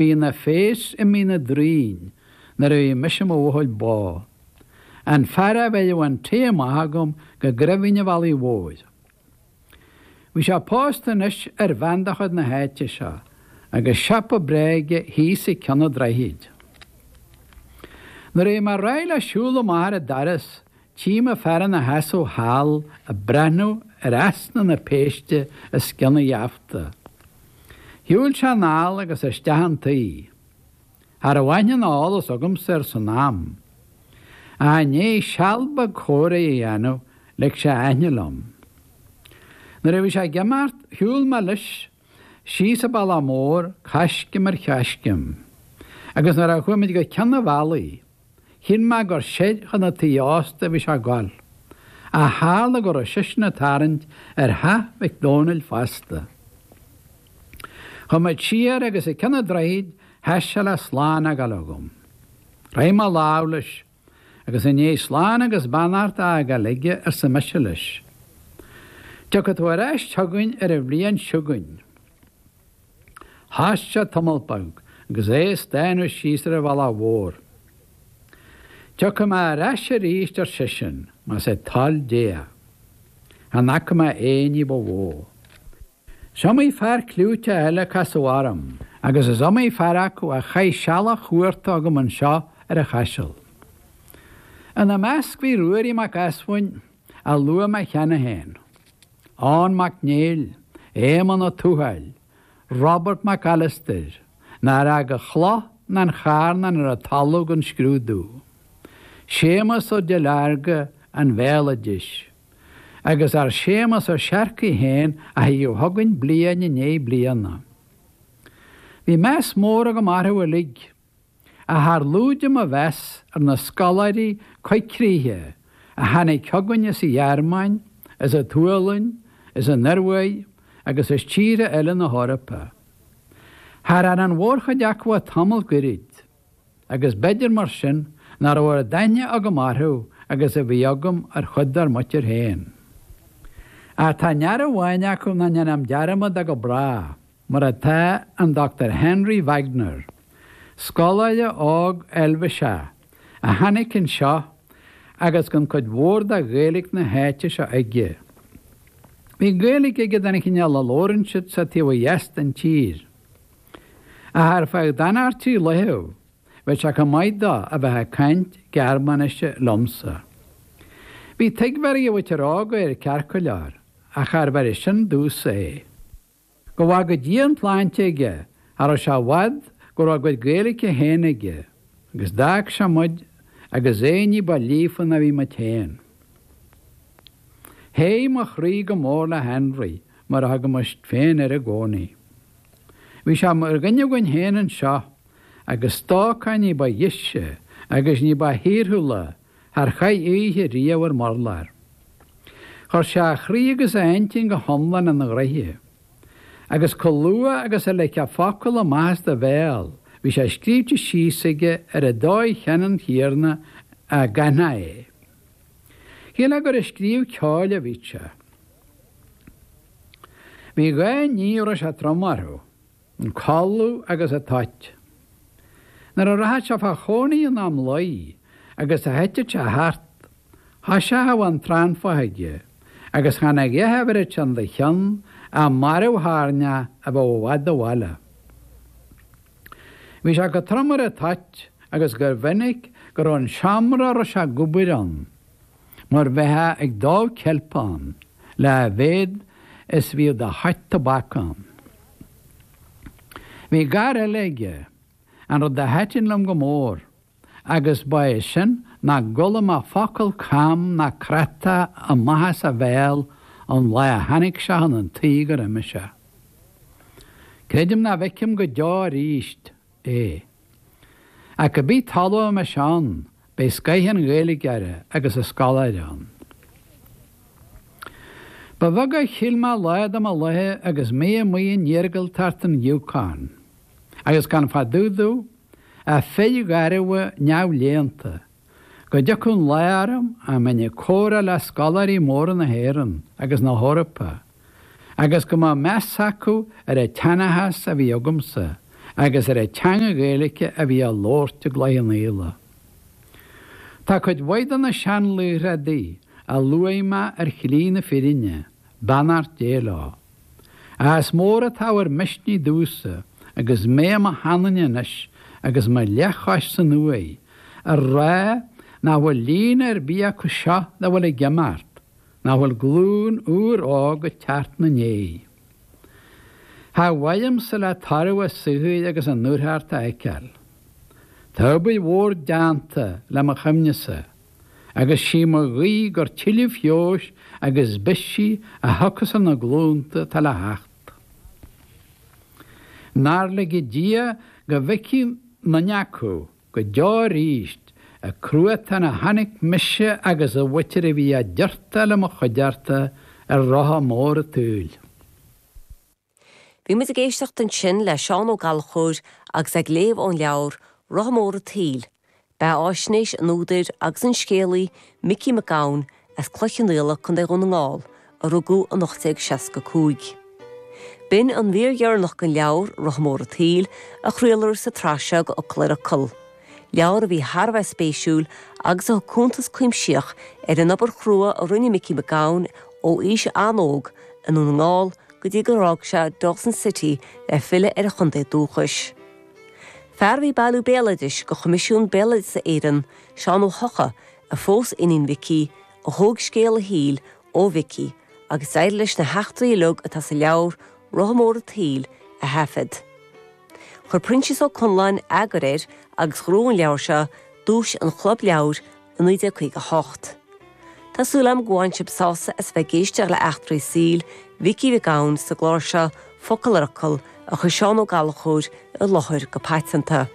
Bhí ina phéas i Mín na dTraoin nuair a bhí mise i mo bhuachaill bó. An fear a bheireadh an tae amach agam go Grimhín an Bhealaigh Mhóir. Bhí sé pósta anois ar bhean de chuid na háite seo agus siopa breá aige thíos ag ceann an droichid. Nuair a bhí mé réidh le siúl amach ar an doras tchím an fear ina sheasamh thall ag breathnú ar easna na péiste os cionn an gheafta. Shiúil sé anall agus isteach an tí. Cha raibh aithne ná eolas agamsa air san am. Ach i ndiaidh seal beag comhrá a dhéanamh lig sé a aithne liom. Nuair a bhí sé ag imeacht shiúil mé leis síos an bealach mór, coiscéim ar choiscéim. Agus nuair a chuaigh muid go ceann an bhealaigh, Shíl mé gur soir chun an tí ósta a bhí sé ag goil, ach tharla go raibh seisean ag tarraingt ar theach Mhic Dhónaill fosta. Chuaigh muid siar agus ag ceann an droichid sheas sé le slán a fhágáil agam. Chroith mé lámh leis, agus i ndiaidh slán agus beannacht a fhágáil aige arsa mise leis, Tiocfaidh tú ar ais chugainn ar an bhliain seo chugainn. Thost sé tamall beag agus é ag stánadh síos ar an bhealach mhór. Tiocfaidh mé ar ais arís, ar seisean, más é toil Dé é. Chan fhaca mé aon ní ba mhó. Is iomaí fear clúiteach eile a casadh orm, agus is iomaí fear acu a chaith seala chuarta agam anseo ar an Chaiseal. Ina measc bhí Ruairí Mac Easmhainn, a luaigh mé cheana féin. Eoin Mac Néill, Éamonn Ó Tuathail, Robert Mac Alastair, nár fhág an chloch ná an charnán ar an talamh gan scrúdú, Séamus Ó Duilearga an bhéaloidis, agus ár Séamus Ó Searcaigh féin a thigeadh chugainn bliain i ndiaidh bliana. Bhí meas mór agam orthu uilig. Ach char lúide mo mheas ar na scoláirí coigcríche a tháinig chugainn as an Ghearmáin, as an tSualainn, as an Ioruaidh agus as tíortha eile na hEorpa. Char fhan an mhórchuid acu ach tamall goirid, agus b'fhéidir mar sin nach raibh oiread aithne agam orthu agus a bhí agam ar chuid dár muintir féin. Ach tá near amháin acu nach ndéanfainn dearmad de go bráth. mar atá an Dr Henry Wagner, scoláire óg Eilvéiseach a tháinig anseo agus gan cuid mhór de Ghaeilge na háite seo aige. Bhí Gaeilge aige den chineál a labhrann siad sa taobh ó dheas den tír. Ach ar feadh d'fhanacht trí laethe, bheadh sé chomh maith dó a bheith ag caint Gearmáinise liomsa. Bhí tuigbheáil ag a mhuintir óga air ceart go leor, ach charbh fhearr sin domhsa é. Go bhfága Dia an tsláinte aige, cha raibh sé i bhfad go raibh a gcuid Gaeilge féin aige, agus d'fhág sé muid agus é ní ba líofa ná bhí muid féin. Théigh mo chroí go mór le Henry, mar a thugaimis féin air i gcónaí. Bhí sé mar dhuine againn féin anseo, agus stócach ní ba dheise agus ní ba thíorthúla char chaith oíche riamh ar m'urlár. Chuir sé a chroí agus a intinn go hiomlán ina ghnoithe. Agus chomh luath agus a ligfeá focal amach as do bhéal, bhí sé scríte síos aige ar an dóigh cheannann chéanna a gcaithfeá é. Shílfeá gur ag scríobh ceoil a bhí sé. Bhí dhá ní a raibh sé trom orthu. An codladh agus an toit. Nuair a rachadh sé fá chónaí in am luí agus a thiteadh sé thart, thoiseochadh an tránfach aige agus chan a dhath a bheireadh sé de cheann ach marbh-thairneach a bheadh i bhfad ó bhaile. Bhí sé chomh trom ar an toit agus gur mhinic go raibh an seomra a raibh sé ag obair ann mar bheifeá ag dó ceilp ann le a mhéad is bhíodh de thoit tobac ann. Bhí gar eile aige, an rud a thaitin liom go mór, agus ba é sin nach gcuala mé focal cam ná cráite amach as a bhéal ón lá a tháinig sé chun an tí gur imigh sé. Creidim nach bhfeicfeam go deo arís é. Ach cibé talamh a mbeidh sé ann, beidh scoith an Ghaeilgeora agus an scoláire ann. Ba bheag a shíl mé lá de mo laethe agus mé amuigh in iargúltacht an Yukon, agus gan fá dtaobh domh ach fir gharbha neamhléannta, go dtiocfadh an lá orm a mbeinn ag comhrá le scoláirí móra na hÉireann agus na hEorpa, agus go mbeadh meas acu ar an tseanchas a bhí agamsa. Agus ar an teanga Ghaeilge a bhí á labhairt i gCloich Cheann Fhaola. Tá cuid mhaith de na seanlaochraí a luaigh mé ar shlí na fírinne, beannacht Dé leo. Ach is mór an t-ábhar misnigh domhsa agus mé i mo sheanduine anois agus mo leathchois san uaigh, a rá nach bhfuil líne ar bith acu seo dá bhfuil ag imeacht, nach bhfuil glúin úr óg ag teacht 'na ndiaidh. Cha bhfaighimse le toradh a saothair agus a ndúthracht a fheiceáil. Tá obair mhór déanta le mo chuimhnese, agus sí mo ghuí gur tuilleadh feabhais agus bisigh a thiocfas ar na glúnta atá le theacht. Nár lige Dia go bhfeicfidh aon duine acu go deo aríst an cruatan a chonaic mise agus an mhuintir a bhí á dtiortáil i mo chuideachta ar rotha mór an tsaoil. Bhí muid ag éisteacht ansin le Seán Ó Gallchóir agus é ag léamh ón leabhar Rotha Mór an tSaoil, beatháisnéis an údair agus an scéalaí Micí Mac Gabhann as Cloich Cheann Fhaola, Co. Dhún na nGall, a rugadh in 1865. B'in an mhír dheireanach den leabhar Rotha Mór an tSaoil a chraoladh sa tsraith seo d'Fhocal ar Fhocal. Leabhar a bhí thar a bheith spéisiúil agus a thug cuntas cuimsitheach ar an obair chrua a rinne Micí Mac Gabhann ó aois an-óg i nDún na nGall go dtí gur fhág sé Dawson City le filleadh ar a chontae dúchais. Fear a bhí ag bailiú béaloidis do Choimisiún Béaloideasa Éireann, Seán Ó hEocha, a phós iníon Mhicí, a thóg scéal a shaoil ó Mhicí agus d'éirigh leis na heachtraí uilig atá sa leabhar Rotha Mór an tSaoil a thaifead. Chuir Proinsias Ó Conláin eagar air agus ghnóthaigh an leabhar seo duais an Chlub Leabhar i 1958. Tá súil agam go bhain sibh sásamh as bheith ag éisteacht le eachtraí saoil Mhicí Mhic Gabhann sa gclár seo Focal ar Fhocal a chuir Seán Ó Gallchóir i láthair go paiteanta.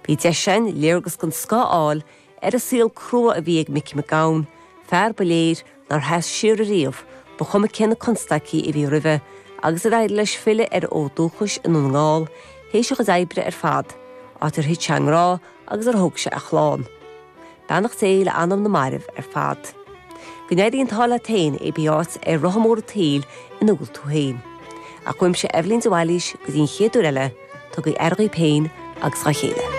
Bhí deis againn léargas den scoth a fháil ar an saol crua a bhí ag Micí Mac Gabhann, fear ba léir nár sheas siar ariamh, ba chuma cé na constaicí a bhí roimhe, agus ar éirigh leis filleadh ar a fhód dúchais i nDún na nGall théis a chuid oibre ar fad, áit ar thit sé i ngrá agus ar thóg sé a chlann. Beannacht Dé le anam na mairbh ar fad. Go n-éirí an t-ádh leat féin i pé áit ar rotha mór an tsaoil ina bhfuil tú féin. Ach uaimse Eibhlín de Bhailís go dtí an chéad uair eile, tugaigí aire dhaoibh féin agus dhá chéile.